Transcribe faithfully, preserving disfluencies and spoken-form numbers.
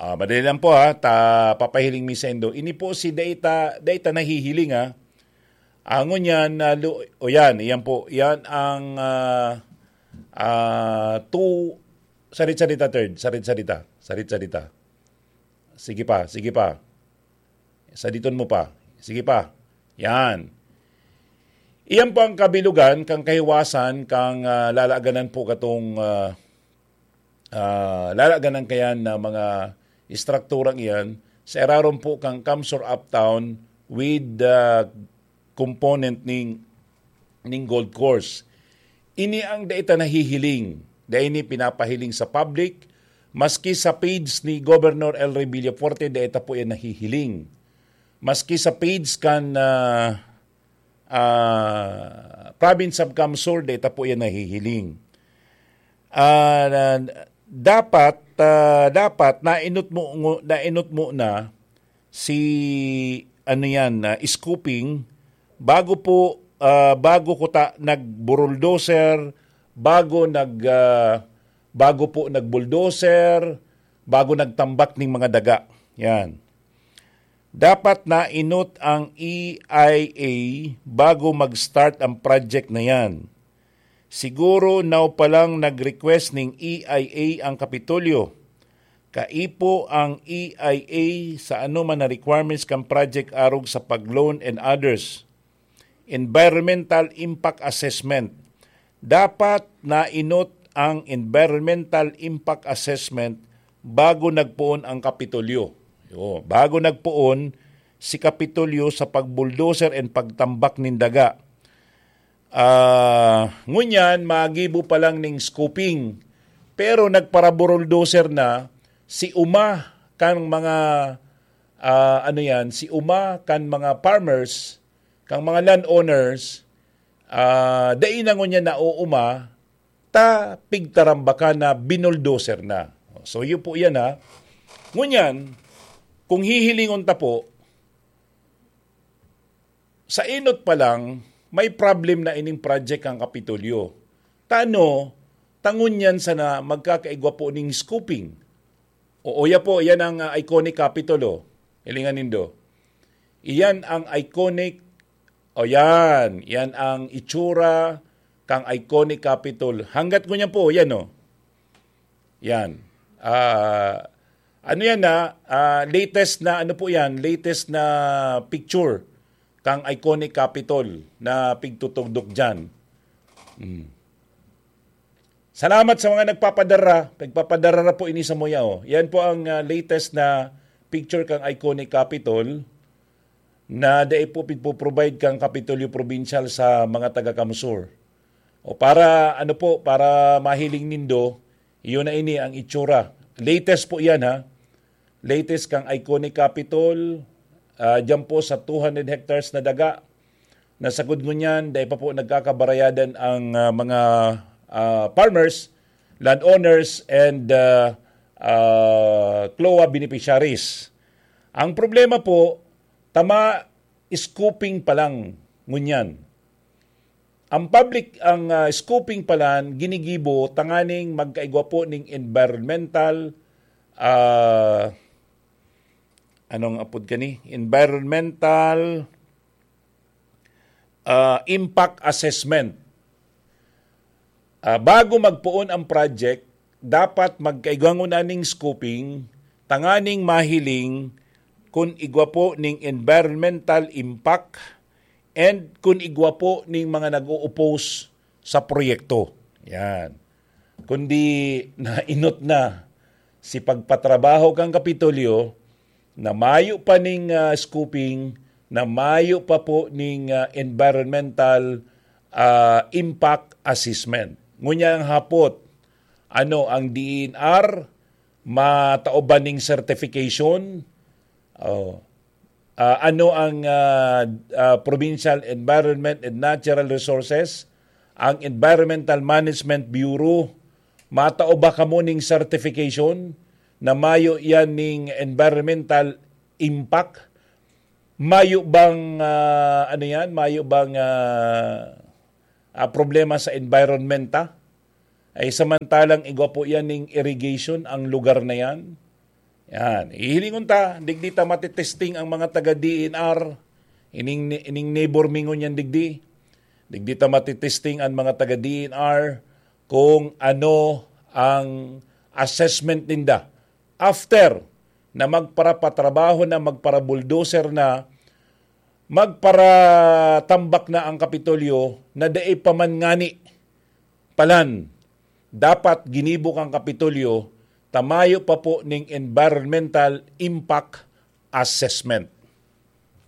Ah, madali lang po ha, ta papahiling mi saindo. Ini po si dai ta, dai ta nahihiling ha. Angon yan, na lu- o yan, yan po, yan ang ah, ah, two, sarit-sarita third, sarit-sarita, sarit-sarita. Sige pa, sige pa. Saditon mo pa. Sige pa. Yan. Iyan po ang kabilugan kang kahiwasan kang ah, lalaganan po katong ah, ah, lalaganan kayan na mga istrukturang iyan sa irarom po kang Kamsur Uptown with the component ning ning golf course. Ini ang dai ta nahihiling, dai ini pinapahiling sa public, maski sa page ni Governor El Rey Villafuerte, dai ta po yan nahihiling. Maski sa page kan ah, ah, Province of Kamsur, dai ta po yan nahihiling. Ah, na- dapat ah, dapat nainot mo ngo- nainot mo na si ano yan, ah, scooping bago po ah, bago ko ta nagburuldoser, bago nag ah, bago po nagbulldozer, bago nagtambak ning mga daga. Yan. Dapat nainot ang E I A bago mag-start ang project na yan. Siguro now pa lang nag-request ning E I A ang Kapitolyo. Kaipo ang E I A sa anoman na requirements kan project arog sa pag-loan and others. Environmental Impact Assessment. Dapat nainot ang Environmental Impact Assessment bago nagpoon ang Kapitolyo. Yo, bago nagpoon si Kapitolyo sa pagbulldozer and pagtambak nin daga. Ah, ngunyan, magibo pa lang ning scooping. Pero nagparabulldozer na si uma kan mga ah, ano yan, si uma kan mga farmers, kan mga landowners, ah, dai na ngunyan nauuma, ta pigtarambakan na binuldoser na. So, yun po yan ha. Ngunyan, kung hihilingon ta po, sa inot pa lang, may problem na ining project ang Kapitolyo. Tano, tangon yan sana magkakaigwa po ning scooping. O, oya po, yan ang ah, iconic Capitol, oh. Hilingan nindo. Iyan ang iconic, o yan, yan ang itsura kang iconic Capitol. Hanggat ngunyan po, yan, oh. Yan. Ah, ano yan na? Ah, latest na, ano po yan? Latest na picture kang iconic Capitol na pigtutugdok dyan. Mm. Salamat sa mga nagpapadara. Nagpapadara na po ini sa muya, oh. Yan po ang ah, latest na picture kang iconic Capitol na dai po pigpo-provide kang Kapitolyo Provincial sa mga taga Kamsur. O para, ano po, para mahiling nindo, iyon na ini ang itsura. Latest po yan, ha. Latest kang iconic Capitol, ah, dyan po sa two hundred hectares na daga. Na sagod ngunyan, dai pa po nagkakabarayadan ang ah, mga ah, farmers, landowners, and ah, ah, CLOA beneficiaries. Ang problema po, tama, scooping pa lang ngunyan. Ang public, ang ah, scooping pa lang, ginigibo tanganing magkaigwa po ning environmental, ah, anong apod kani? Environmental ah, impact assessment. Ah, bago magpoon ang project, dapat magkaigwa nguna ning scoping tanganing mahiling kun igwa po ning environmental impact and kun igwa po ning mga nag-o-oppose sa proyekto. Yan. Kundi nainot na si pagpatrabaho kan Kapitolyo na mayo pa ning ah, scoping, na mayo pa po ning ah, environmental ah, impact assessment. Ngunyan ang hapot, ano ang D E N R, matao ba ning certification? Oh. Ah, ano ang ah, ah, Provincial Environment and Natural Resources, ang Environmental Management Bureau, matao ba kamo ning certification na mayo yan ning environmental impact? Mayo bang ah, ano yan? Mayo bang ah, ah, problema sa environment ta? Ay samantalang igwa po yan ning irrigation ang lugar na yan. Yan. Hihilingon ta, digdi ta matitesting ang mga taga D N R. Ining, ining neighbor mi ngunyan digdi. Digdi ta matitesting ang mga taga D N R kung ano ang assessment ninda after na magparapatrabaho na, magparabulldozer na, magparatambak na ang Kapitolyo na dai pa man ngani palan dapat ginibo kan Kapitolyo ta mayo pa po ning environmental impact assessment.